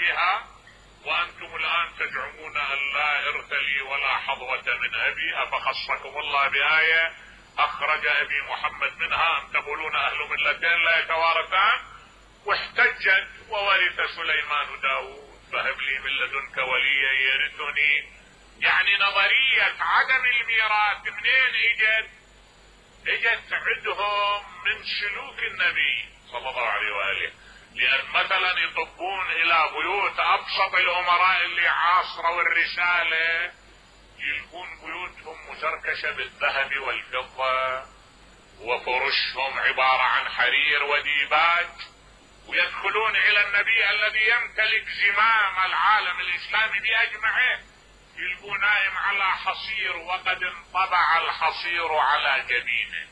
بها، وأنتم الآن تزعمون أن لا إرث لي ولا حظوة من أبي، أفخصكم الله بآية أخرج أبي محمد منها أم تقولون أهل ملتين لا يتوارثان؟ واحتجت وورث سليمان داود فهب لي من لدنك وليا يرثني. يعني نظرية عدم الميراث منين اجت عندهم من سلوك النبي صلى الله عليه وآله. لأن مثلا يطبون إلى بيوت أبسط الأمراء اللي عاصروا الرسالة، يلقون بيوتهم مزركشة بالذهب والفضة، وفرشهم عبارة عن حرير وديباج، ويدخلون إلى النبي الذي يمتلك زمام العالم الإسلامي بأجمعه، يلقون نائم على حصير وقد انطبع الحصير على جبينه.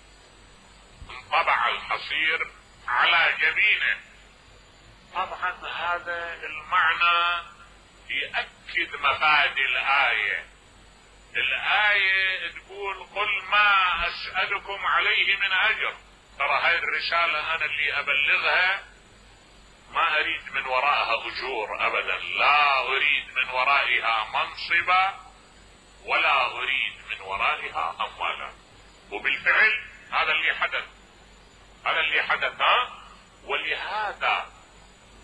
انطبع الحصير على جبينه. طبعا هذا المعنى يؤكد مفاد الآية. الآية تقول قل ما أسألكم عليه من أجر. ترى هاي الرسالة أنا اللي أبلغها ما أريد من وراءها أجور أبدا، لا أريد من ورائها منصبا ولا أريد من ورائها أموالا. وبالفعل هذا اللي حدث. ولهذا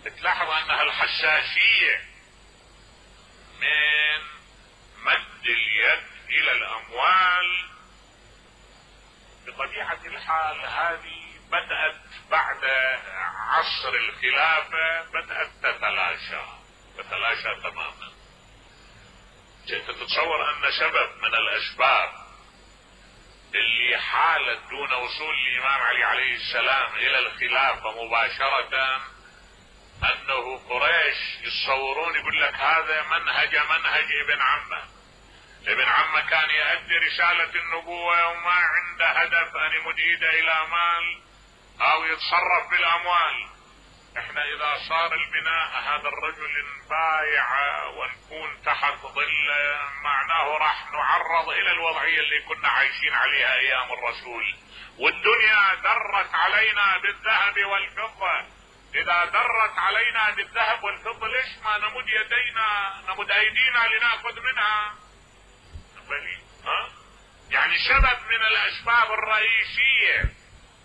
تلاحظ أنها الحساسية من مد اليد إلى الأموال بطبيعة الحال هذه بدأت بعد عصر الخلافة، بدأت تتلاشى تماما. انت تتصور أن سبب من الأسباب اللي حالت دون وصول الإمام علي عليه السلام إلى الخلافة مباشرة أنه قريش يتصورون يقول لك هذا منهج ابن عمه. ابن عمه كان يؤدي رسالة النبوة وما عنده هدف أن يمد إيده إلى مال أو يتصرف بالأموال. احنا إذا صار البناء هذا الرجل نبايع ونكون تحت ظل معناه راح نعرض إلى الوضعية اللي كنا عايشين عليها أيام الرسول. والدنيا درت علينا بالذهب والفضة. إذا درت علينا بالذهب والفضة ليش ما نمد أيدينا لنأخذ منها؟ يعني سبب من الأسباب الرئيسية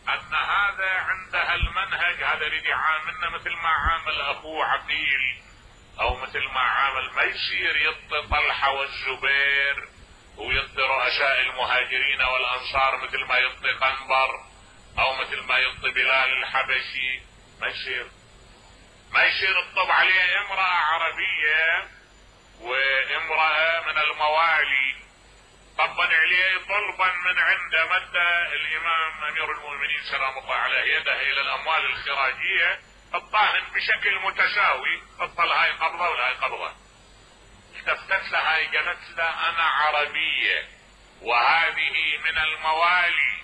أن هذا عندها المنهج، هذا اللي يعاملنا مثل ما عامل أخوه عقيل أو مثل ما عامل، ما يصير يطي طلحة والزبير ويطي رؤساء المهاجرين والأنصار مثل ما يطي قنبر أو مثل ما يطي بلال الحبشي. ما يصير الطب عليه امرأة عربية وامرأة من الموالي طبا عليه طلبا من عنده مد الامام امير المؤمنين سلام الله عليه يده الى الاموال الخراجية الطاهن بشكل متساوي، تطل هاي قبضة ولا هاي قبضة. التفتت لها هاي قالت له انا عربية وهذه من الموالي.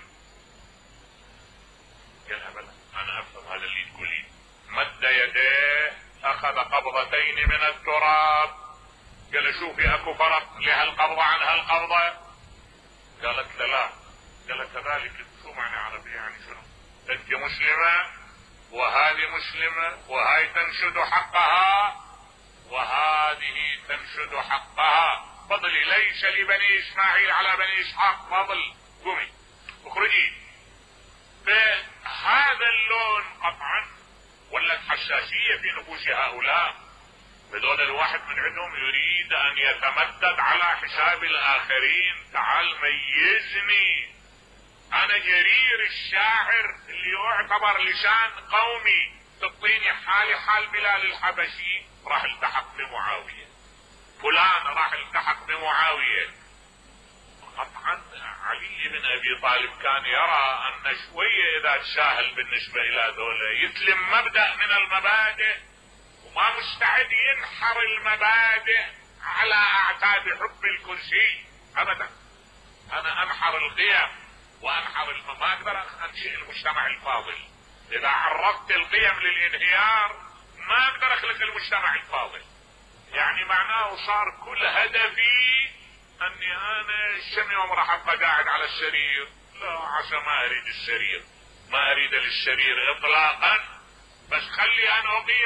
قالها بلى انا افهم هذا اللي تقولين. مد يديه اخذ قبضتين من التراب. قال شوفي اكو فرق لهالقبضة عن هالقبضة؟ قالت لا. قال كذلك شو معنى عربية؟ يعني شنو؟ انت مسلمة وهذه مسلمة وهاي تنشد حقها وهذه تنشد حقها. فضلي ليس لبني اسماعيل على بني اسحاق فضل. قومي اخرجي. بهذا اللون قطعا ولت حساسية في نفوس هؤلاء. بدون الواحد من عندهم يريد ان يتمدد على حساب الاخرين. تعال ميزني، انا جرير الشاعر اللي يعتبر لسان قومي، تعطيني حالي حال بلال الحبشي راح التحق بمعاوية، فلان راح التحق بمعاوية. قطعا علي بن ابي طالب كان يرى ان شوية اذا تساهل بالنسبة الى ذولا يسلم مبدأ من المبادئ وما مستعد ينحر المبادئ على اعتاب حب الكرسي ابدا. انا انحر القيم وانحر ما اقدر انشئ المجتمع الفاضل. اذا عرضت القيم للانهيار ما اقدر اخلق المجتمع الفاضل. يعني معناه صار كل هدفي اني انا كم يوم راح ابقى قاعد على السرير. لا عسى ما اريد السرير، ما اريد للسرير اطلاقا، بس خلي انا اقيم